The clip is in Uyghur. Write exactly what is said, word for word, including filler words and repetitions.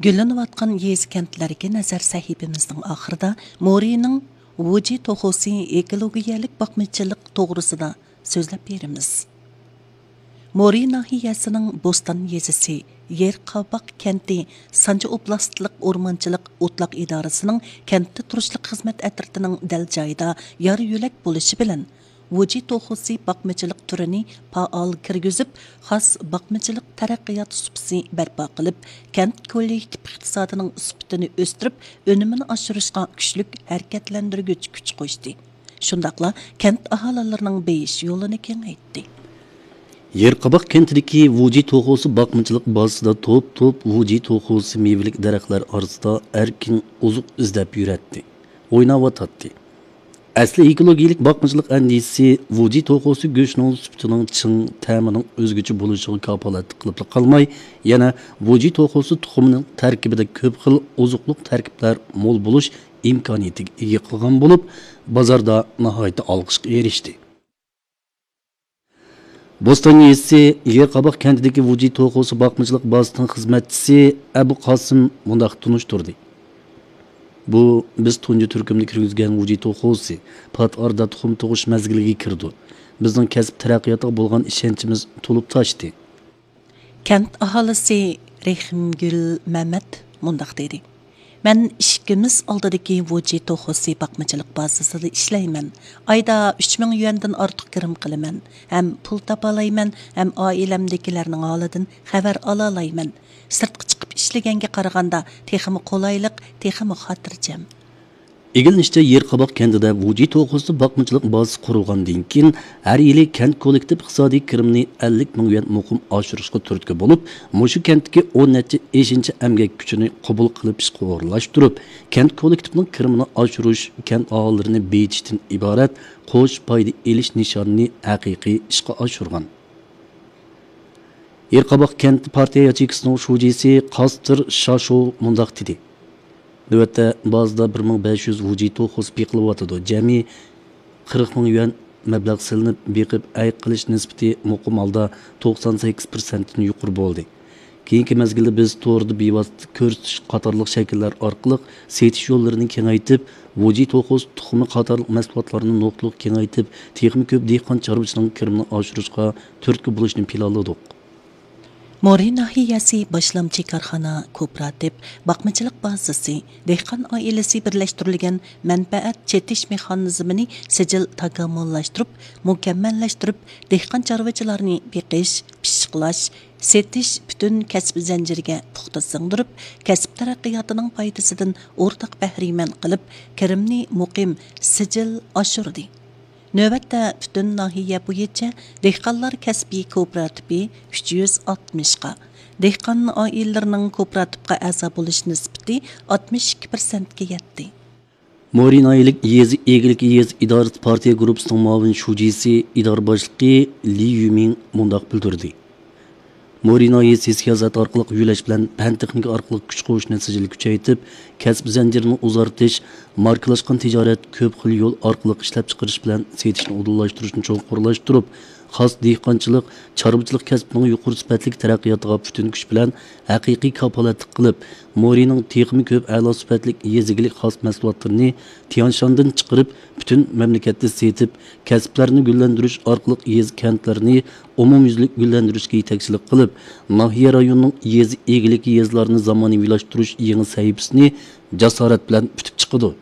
گۈللىنىۋاتقان يېزا-كەنتلەرگە نەزەر سەھىپىمىزنىڭ ئاخىرىدا مورىنىڭ ۋۇجى توخۇسى ئېكولوگىيەلىك باقمىچىلىق توغرىسىدا سۆزلەپ بېرىمىز. مورى ناھىيەسىنىڭ بوستان يېزىسى، يېر قاباق كەنتى سانجى ئوبلاستلىق ئورمانچىلىق ئوتلاق ئىدارىسىنىڭ كەنتتە تۇرۇشلۇق خىزمەت ئەترىتىنىڭ دەل جايىدا يار يۆلەك بولۇشى بىلەن، ۋۇجى توخۇسى باقمىچىلىق تۈرىنى پائال كىرگۈزۈپ، خاس باقمىچىلىق تەرەققىيات سۇپىسى بەرپا قىلىپ، كەنت كوللېكتىپ ئىقتىسادىنىڭ سۈپىتىنى ئۆستۈرۈپ، ئۈنۈمىنى ئاشۇرۇشقا كۈچلۈك ھەرىكەتلەندۈرگۈچ كۈچ قوشتى. شۇنداقلا كەنت ئاھالىلىرىنىڭ بېيىش يولىنى كېڭەيتتى. يېرقاباق كەنتىدىكى ۋۇجى توخۇسى باقمىچىلىق بازىسىدا توپ-توپ ۋۇجى توخۇسى مېۋىلىك دەرەخلەر ئارىسىدا ئەركىن ئوزۇق ئىزدەپ يۈرەتتى، ئويناۋاتاتتى. ئەسلى ئېكولوگىيەلىك باقمىچىلىق ئەندىزىسى ۋۇجى توخۇسى گۆشىنىڭ سۈپىتىنىڭ چىڭ، تەمىنىڭ ئۆزگىچە بولۇشىغا كاپالەتلىك قىلىپلا قالماي، يەنە ۋۇجى توخۇسى تۇخۇمىنىڭ تەركىبىدە كۆپ خىل ئوزۇقلۇق تەركىبلەر مول بولۇش ئىمكانىيىتىگە ئىگە قىلغان بولۇپ، بازاردا ناھايىتى ئالقىشقا ئېرىشتى. بوستان يېزىسى يېرقاباق كەنتىدىكى ۋۇجى توخۇسى باقمىچىلىق بازىسىنىڭ خىزمەتچىسى ئەبۇ قاسىم مۇنداق تونۇشتۇردى: بۇ بىز تۇنجى تۈركۈمدە كىرگۈزگەن ۋۇجى توخۇسى پات ئارىدا تۇخۇم تۇغۇش مەزگىلىگە كىرىدۇ. بىزنىڭ كەسىپ تەرەققىياتىغا بولغان ئىشەنچىمىز تولۇپ تاشتى. كەنت ئاھالىسى رېھىمگۈل مەمەت مۇنداق دېدى: مەن ئىشىكىمىز ئالدىدىكى ۋۇجى توخۇسى باقمىچىلىق بازىسىدا ئىشلەيمەن. ئايدا ئۈچ مىڭ يۈەندىن ئارتۇق كىرىم قىلىمەن ھەم پۇل تاپالايمەن ھەم ئائىلەمدىكىلەرنىڭ ھالىدىن خەۋەر ئالالايمەن. سىرتقا چىقىپ ئىشلىگەنگە قارىغاندا تېخىمۇ قولايلىق، تېخىمۇ خاتىرجەم. ئىگىلىنىشىچە، يېرقاباق كەنتىدە ۋۇجى توخۇسى باقمىچىلىق بازىسى قۇرۇلغاندىن كېيىن، ھەر يىلى كەنت كوللېكتىپ ئىقتىسادىي كىرىمىنى ئەللىك مىڭ يۈەن مۇقىم ئاشۇرۇشقا تۈرتكە بولۇپ، مۇشۇ كەنتتىكى ئون نەچچە ئېشىنچە ئەمگەك كۈچىنى قوبۇل قىلىپ ئىشقا ئورۇنلاشتۇرۇپ، كەنت كوللېكتىپىنىڭ كىرىمىنى ئاشۇرۇش، كەنت ئاھالىلىرىنى بېيىتىشتىن ئىبارەت قوش پايدا ئېلىش نىشانىنى ھەقىقىي ئىشقا ئاشۇرغان. يېرقاباق كەنت پارتىيە ياچېيكىسىنىڭ شۇجىسى قاستىر شاشو مۇنداق دېدى: نۆۋەتتە بازىدا بىر مىڭ بەش يۈز ۋۇجى توخۇسى بېقىلىۋاتىدۇ. جەمئىي قىرىق مىڭ يۈەن مەبلەغ سېلىنىپ، بېقىپ ئەي قىلىش نىسبىتى مۇقىم ھالدا توقسان سەككىز پىرسەنتتىن يۇقىرى بولدى. كېيىنكى مەزگىلدە بىز توردا بىۋاسىتە كۆرسىتىش قاتارلىق شەكىللەر ئارقىلىق سېتىش يوللىرىنى كېڭەيتىپ، ۋۇجى توخۇسى تۇخۇمى قاتارلىق مەھسۇلاتلارنى نۇقتىلىق كېڭەيتىپ، تېخىمۇ كۆپ دېھقان چارۋىچىنىڭ كىرىمىنى ئاشۇرۇشقا تۈرتكە بولۇشنى پىلانلىدۇق. مورى ناھىيەسى باشلامچى كارخانا كوپىراتىپ باقمىچىلىق بازىسى، دېھقان ئائىلىسى بىرلەشتۈرۈلگەن مەنپەئەت چېتىش مېخانىزمىنى سىجىل تاكامۇللاشتۇرۇپ، مۇكەممەللەشتۈرۈپ، دېھقان چارۋىچىلارنى بېقىش، پىششىقلاش، سېتىش پۈتۈن كەسىپ زەنجىرىگە پۇختا سىڭدۈرۈپ، كەسىپ تەرەققىياتىنىڭ پايدىسىدىن ئورتاق بەھرىمەن قىلىپ، كىرىمنى مۇقىم، سىجىل ئاشۇردى. نۆۋەتتە پۈتۈن ناھىيە بويىچە دېھقانلار كەسپىي كوپىراتىپى ئۈچ يۈز ئاتمىشقا، دېھقان ئائىلىلىرىنىڭ كوپىراتىپقا ئەزا بولۇش نىسبىتى ئاتمىش ئىككى پىرسەنتكە يەتتى. مورى ناھىيەلىك يېزا ئىگىلىكى يېزا ئىدارىسى پارتىيە گۇرۇپپىسىنىڭ مۇئاۋىن شۇجىسى، ئىدارە باشلىقى لى يۈمىڭ مۇنداق بىلدۈردى: مورى ناھىيەسى سىياسەت ئارقىلىق يۆلەش بىلەن پەن تېخنىكا ئارقىلىق كۈچ قوشۇشنى سىجىل كۈچەيتىپ، كەسىپ زەنجىرىنى ئۇزارتىش، ماركىلاشقان تىجارەت، كۆپ خىل يول ئارقىلىق ئىشلەپچىقىرىش بىلەن سېتىشنى ئۇدۇللاشتۇرۇشنى چوڭقۇرلاشتۇرۇپ، خاس دېھقانچىلىق، چارۋىچىلىق كەسپىنىڭ يۇقىرى سۈپەتلىك تەرەققىياتىغا پۈتۈن كۈچ بىلەن ھەقىقىي كاپالەتلىك قىلىپ، مورىنىڭ تېخىمۇ كۆپ ئەلا سۈپەتلىك يېزا ئىگىلىك خاس مەھسۇلاتلىرىنى تيەنشاندىن چىقىرىپ، پۈتۈن مەملىكەتتە سېتىپ، كەسىپلەرنى گۈللەندۈرۈش ئارقىلىق يېزا، كەنتلەرنى ئومۇميۈزلۈك گۈللەندۈرۈشكە يېتەكچىلىك قىلىپ، ناھىيە، رايوننىڭ يېزا ئىگىلىكى يېزىلارنى زامانىۋىلاشتۇرۇش يېڭى سەھىپىسىنى جاسارەت بىلەن پۈتۈپ چىقىدۇ.